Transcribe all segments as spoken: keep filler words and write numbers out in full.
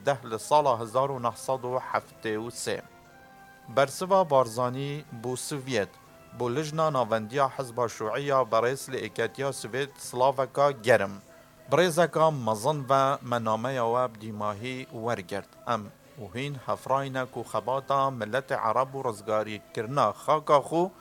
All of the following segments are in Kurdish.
deh li sala hezar û neh sed û heftê û sê. Bersiva Barzanî bû Sovyet, bû Lijna Navendiya Hizba Şûî ya berêz li Êketiya Sovêt silaveka germ. Bi rêzeka mezin ve me nameya we bi dîmahî wergirt. Em û hîn hefrayî ne ku xebata miletê Ereb û rizgarîkirina xaka xwe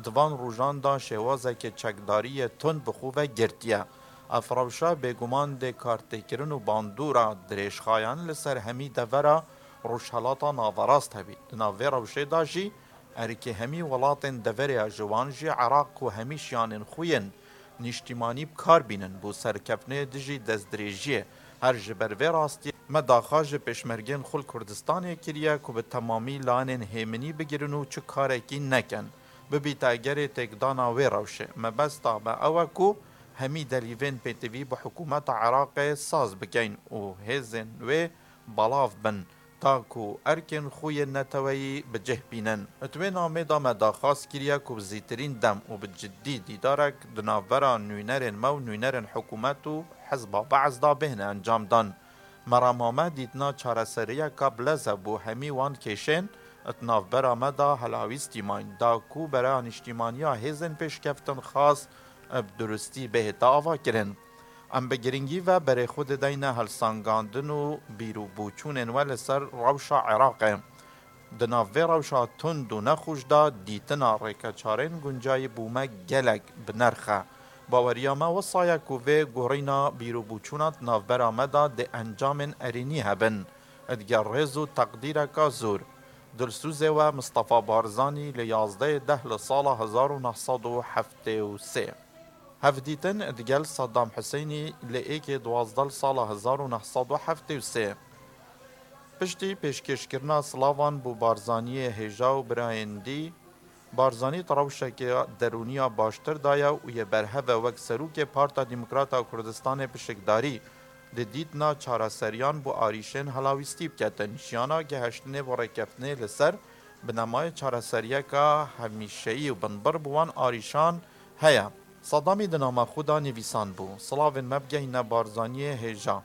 di van rojan de şêwazeke çekdariyê tund bi xwe ve girtiye. Ev rewşa bêguman dê kartêkirin û bandora dirêjxayan li ser hemî devera Rojhelata Naverast hebît. Di nav vê rewşê de jî erkê hemî welatên deverê ya ji wan jî Iraq ku hemî şiyanên xwe yên nîştîmanî bi kar bînin, bû serkeftinê dijî destdirêjiyê. Her ji ber vê rastiyê me daxa ji pêşmergên xwe li Kurdistanê kiriye ku bi temamî lanên hêminî bigirin û çi karekî nekin. Bibîte egerê têkdana wê rewşê. Mebesta me ew e ku hemî delîvên pêtivî bi hikûmeta Iraqê saz bikeyn û hêzên wê belav bin, ta ku erkên xwe yên neteweyî bi cih bînin. Di wê namê de me daxwaz kiriye ku bi zîtirîn dem û bi cidî dîdarek di navbera nûnerên me û nûnerên hikûmet û Hizba Be'es de bihêne encamdan. Merema me dîtina çareseriyeka bilez e bo hemî wan kêşên di navbera me de helawîstî mayîn, da ku bereya nîştîmaniya hêzên pêşkeftinxwaz bi durustî bihête avakirin. Em bi giringî ve berê xwe dideyne helsengandin û bîr û boçûnên we li ser rewşa Iraqê. Di nav vê rewşa tund û nexweş de dîtina rêkeçarên guncayî bo me gelek bi nerx e. Baweriya me wisa ye ku vê guherîna bîr û boçûna di navbera me de dê encamên erênî hebin. Digel rêz û teqdîreka zor. Dilsûzê we Mistefa Barzanî li yazdehê deh li sala hezar û neh sed û heftê û sê. Hevdîtin digel Saddam Husênî li êkê duwazdeh li sala hezar û neh sed û heftê û sê. Piştî pêşkêşkirina silavan bo Barzaniyê hêja û birayên dî, Barzanî di rewşeke derûniya baştir de ye û yê berhev e wek serokê Parta Demokrat a Kurdistanê pişikdarî di dîtina çareseriyan bo arîşên helawîstî biketin. Jiyana gehiştinê bo rêkeftinê li ser binemayê çareseriyeke hemîşeyî û binbir bo wan arîşan heye. Sadamî di nama xwe de nivîsandbû, silavên me bigehîne Barzaniyê hêja.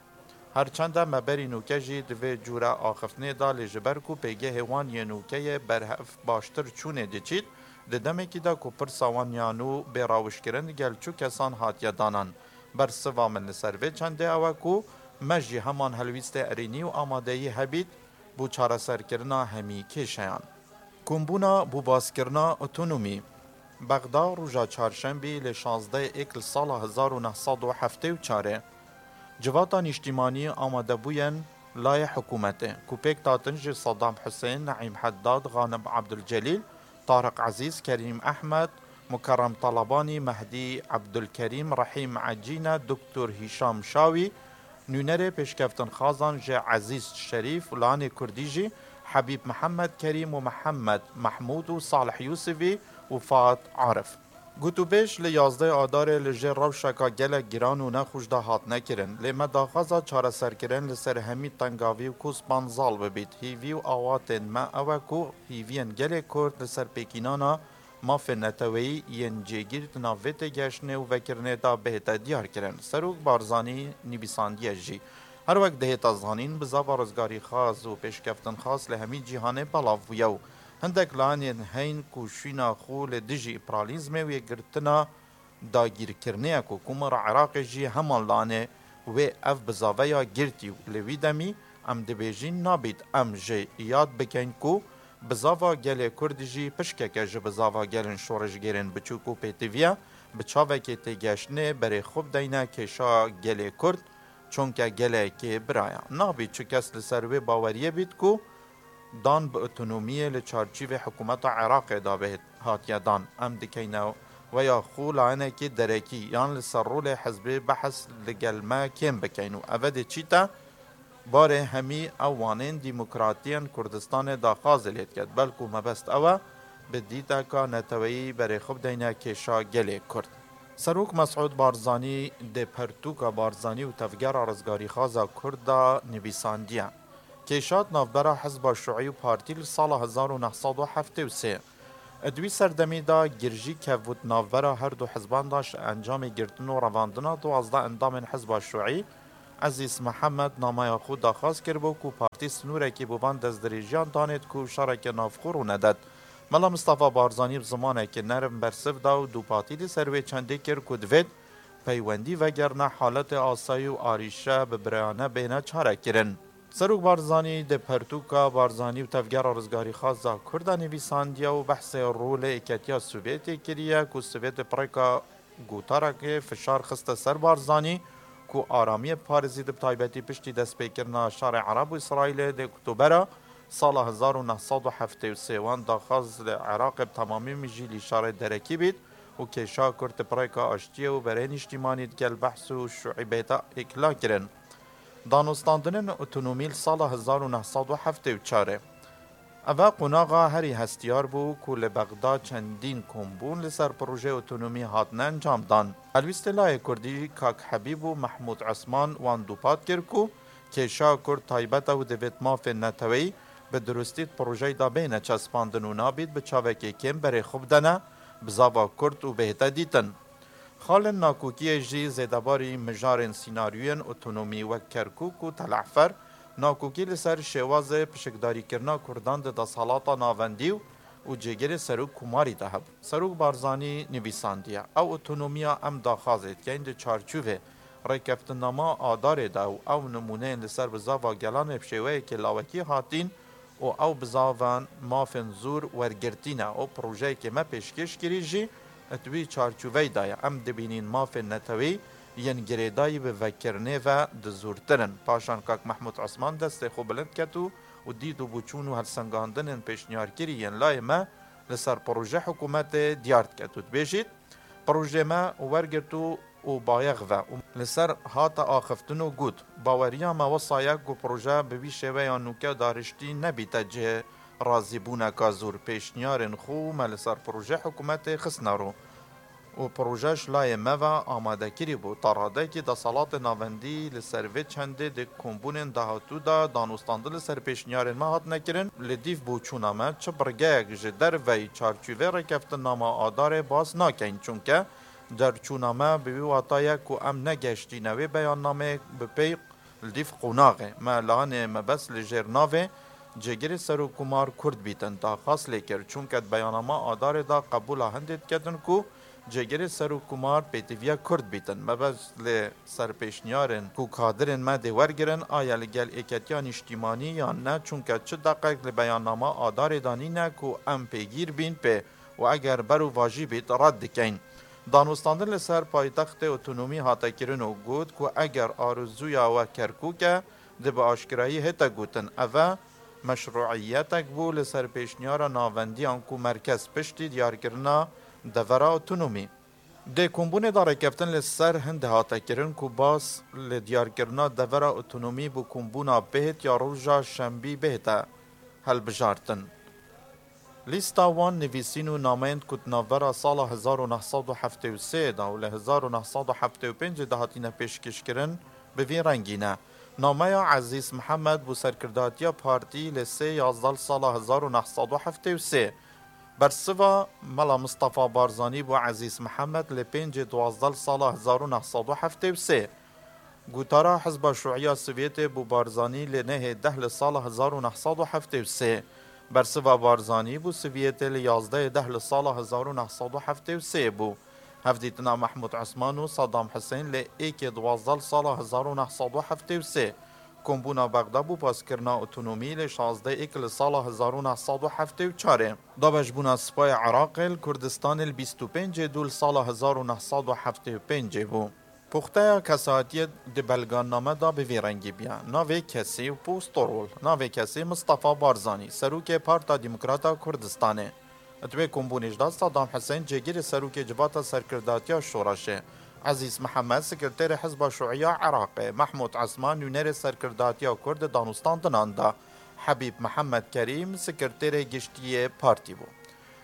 Her çend e me berî nûke jî di vê cûre axiftinê de, lê ji ber ku pêgehê wan yê nûke yê berhev baştir çûnê diçît, di demekî de ku pirsa wan ya nû bê rawişkirin digel çu kesan hatiye danan. Bersiva min li ser vê çendê ew e ku me jî heman helwîstê erênî û amadeyî hebît bo çareserkirina hemî kêşeyan. Kombûna bo bazkirina otonomî. Bexda, roja çarşembî li şazdeh êk li sala hezar û neh sed û heftê û çar e. Civata nîştîmanî amadebûyen layê hikûmetê, ku pêk datin ji Saddam Husên, Neîm Heddad, Xanim Abdulcelîl, Tariq Ezîz, Kerîm Ehmed, Mukerrem Talabanî, Mehdî Abdulkerîm, Rehîm Ecîne, Doktor Hîşam Şawî, nûnerê pêşkeftinxwazan ji Ezîz Şerîf û lanê Kurdî jî Hebîb Mihemed Kerîm û Mihemed Mehmûd û Salih Yûsivî û Faad Arif. Gotûbêj li yazdeh Adarê li jêr rewşeka gelek giran û nexweş de hatine kirin, lê me daxwaza çareserkirin li ser hemî tengavî û kûspan zal bibît. Hîvî û awatên me ew e ku hîviyên gelê Kurd li ser pêkînana mafên neteweyî yên cêgîr di nav vê têgihiştinê û vekirinê de bihête diyarkirin. Serok Barzanî nivîsandiye jî. Her wek dihête zanîn, bizava rizgarîxwaz û pêşkeftinxwaz li hemî cîhanê belav bûye û hindek layinên heyîn ku şûna xwe li dijî împeralîzmê û yekgirtina dagîrkirinê ye ku Komara Iraqê jî heman layinê wê ev bizaveya girtî û li wî demî em dibêjin nabît em jê yad bikeyn ku bizava gelê Kurd jî pişkeke ji bizava gelên şoreşgêrên biçûk û pêtivî ye, bi çavekê têgihiştinê berê xwe bideyne kêşa gelê Kurd, çonke gelekê bira ye. Nabît çi kes li ser wê baweriyê bît ku dan bi otonomiyê li çarçîvê hikûmeta Iraqê de bihêt hatiye dan. Em dikeyne weya xwe layinekî derekî yan li ser rolê hizbê behs li gel me kêm bikeyn û ev dê çîte barê hemî ew wanên demokratiyên Kurdistanê daxwazê lê diket. Belkû mebest ew e, bi dîteka neteweyî berê xwe bideyne kêşa gelê Kurd. Serok Mesûd Barzanî dê pertûka Barzanî û Tevgera Rizgarîxwaza Kurd de nivîsandiye. Kêşa di navbera Hizba Şûî û Partî li sala hezar û neh sed û heftê û sê. Di wî serdemî de girjî kevbû di navbera her du hizban de ji encamê girtin û revandina duwazdeh endamên Hizba Şûî Ezîz Mihemed nameya xwe daxwaz kiribû ku partî sinûrekî bo van destdirêjiyan danêt ku şereke navxwe rû nedet. Mela Mistefa Barzanî bi zimanekî nerm bersiv da û dûpatî li ser wê çendê kir ku divêt peywendî vegerine haletê asayî û arîşe bi birayane bêne çarekirin. Serok Barzanî di pertûka Barzanî û Tevgera Rizgarî Xaza Kurda nivîsandiye û behsê rolê Êketiya Sovyetê kiriye ku Sovyetê pireka gotarekê fişar xiste ser Barzanî ku aramiyê biparêzî, di taybetî piştî destpêkirina şerê Ereb û Îsraîlê di Oktobera sala hezar û neh sed û heftê û sê wan daxwaz li Iraqê bi temamî mijîlî şerê derekî bît û kêşa Kurd pireka aştiyê û berê nîştîmanî digel behs û şûîbê de êkla kirin. Danûstandinên otonomî li sala hezar û neh sed û heftê û çar e. Eve qonaxa herî hestiyar bû ku li Bexda çendîn kombûn li ser projeyê otonomî hatine encamdan. Helwîstê layê Kurdî Kak Hebîb û Mehmûd Esman wan dûpat kir ku kêşa Kurd taybet e û divêt mafên neteweyî bi dirustî di projeyê de bêne çespandin û nabît bi çavekê kêm berê xwe bidene bizava Kurd û bêhte dîtin. Xalên nakokiyê jî zêdebarî mijarên sînaryoyên otonomî wek Kerkûk û Telehfer, nakokî li ser şêwazê pişikdarîkirina Kurdan di desthilata navendî û cêgirê serok komarî de hebû. Serok Barzanî nivîsandiye, Ew otonomiya em daxwazê dikeyn di çarçovê rêkeftinama Adarê de û ew nimûneyên li ser bizava gelan ê bi şêweyekê lawekî hatîn û ew bizavan mafên zor wergirtî ne û projeyekê me pêşkêş kirî jî di wî çarçoveyê de ye. Em dibînîn mafên netewî yên girêdayî bi vekirinê ve di zortir in. Paşan Kak Mehmûd Esman destê xwe bilind ket û û dît û boçûn û helsengandinên pêşniyarkirî yên layê me li ser proje hikûmetê diyar diket û dibêjît, Projeyê me wergirt û û bayex ve û li ser hate axiftin û got, Baweriya me wisa ye ku proje bi vî şêweya nûke dariştî nebîte cihê razîbûneka zor. Pêşniyarên xwe me li ser proje hikûmetê xistine rû û proje ji layê me ve amade kirî bû. Ta radekî desthilatê navendî li ser vê çendê di kombûnên dahatû de danûstandin li ser pêşniyarên me hatine kirin. Li dîv boçûna me çi birgeyek ji derveyî çarçovê rêkeftinama Adarê bas nakeyn, çunke derçûna me bi wî wata ye ku em negeştîne wê beyannameyê bi pey li dîv qonaxê me. Lanê mebest li jêr navê Cêgirê Serokkomar Kurd bîtin daxwaz lê kir, çunke di beyannama Adarê de qebûla hindê diketin ku Cêgirê Serokkomar pêtiviya Kurd bîtin. Mebest lê ser pêşniyarên ku kadirên me dê wergirin, aya li gel êketiya nîştîmanî yan ne, çunke çi deqek li beyannama Adarê de nîne ku em pêgîr bîn pê û eger berovajî bît red dikeyn. Danûstandin li ser paytextê otonomî hate kirin û got ku eger arezûya we Kerkûk e, dê bi aşkerayî hête gotin. Eve meşrûiyetek bû li ser pêşniyara navendiyan ku merkez piştî diyarkirina devera otonomî. Di kombûnê de rêkeftin li ser hindê hate kirin ku bas li diyarkirina devera otonomî bi kombûna bêhit ya roja şembî bêhte hilbijartin. Lîsta wan nivîsîn û nameyên ku di navbera sala hezar û neh sed û heftê û sê de û li hezar û neh sed û heftê û pêncê de hatine pêşkêşkirin bi vî rengî ne. Nameya Ezîz Mihemed bû serkirdatiya partî li sê yazdeh sala hezar û neh sed û heftê û sê. Bersiva Mela Mistefa Barzanî bû Ezîz Mihemed li pêncê duwazdeh sala hezar û neh sed û heftê û sê. Gotara Hizba Şûiya Sovyetê bû Barzanî li nehê deh li sala hezar û neh sed û heftê û sê. Bersiva Barzanî bû Sovyetê li yazdehê deh li sala hezar û neh sed û heftê û sê bû. Hevdîtina Mehmûd Esman û Saddam Husên li êkê duwazdeh sala hezar û neh sed û heftê û sê. Kombûna Bexda bû paskirina otonomî li şazdeh êk li sala hezar û neh sed û heftê û çar ê. Dabeşbûna Sipayê Iraqê li Kurdistanê li bîst û pêncê dû li sala hezar û neh sed û heftê û pêncê bû. Puxteya kesatiyê di belganame de bi vî rengî bûye. Navê kesî û posto rol. Navê kesî Mistefa Barzanî, serokê Parta Demokrata Kurdistanê. Di wê kombûnê jî de Saddam Husên cêgirê serokê Civata Serkirdatiya Şoreşê, Ezîz Mihemed sekreterê Hizba Şûiya Iraqê, Mehmûd Esman nûnerê serkirdatiya Kurd di danûstandinan de, Hebîb Mihemed Kerîm sekreterê giştî yê partî bû.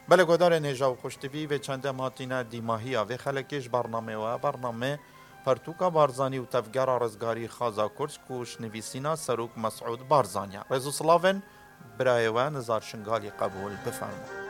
Belê guhdarên hêja û xweştivî, vê çendê em hatîne dîmahiya vê xelekê ji bernameyê we, bernameyê Pertûka Barzanî û Tevgera Rizgarî Xaza Kurd ku ji nivîsîna Serok Mesûd Barzanî ye. Rêz û silavên birayê we Nizar Şingalî qebûl bifermin.